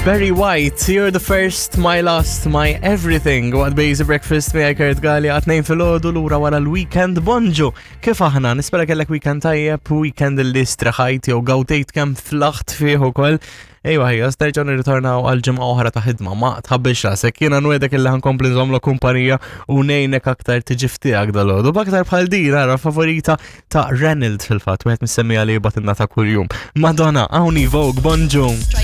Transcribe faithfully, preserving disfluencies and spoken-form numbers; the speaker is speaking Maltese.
Barry White, "You're the first, my last, my everything." Waqt Basic Breakfast miegħi Kurt Galea għat-tnejn filgħodu, lura wara l-weekend. Bonġu, kif aħna? Nispera kellek weekend tajjeb, weekend li straħajt jew gawdejt kemm flaħt fih ukoll. Ejwa ħija, sterġaw nirritornaw għal ġimgħa oħra ta' ħidma, ma tħabbix rasek, jiena nwegħdek illi ħa nkompli nżommlok kumpanija u ngħinek aktar tiġi f'tiegħek dalgħodu. B'aktar bħal din, ara favorita ta' Reynolds fil-fatt, wieħed mis-semmiegħa li jibgħatilna ta' kuljum. Madonna, hawn Vogue, bonġu. Strike.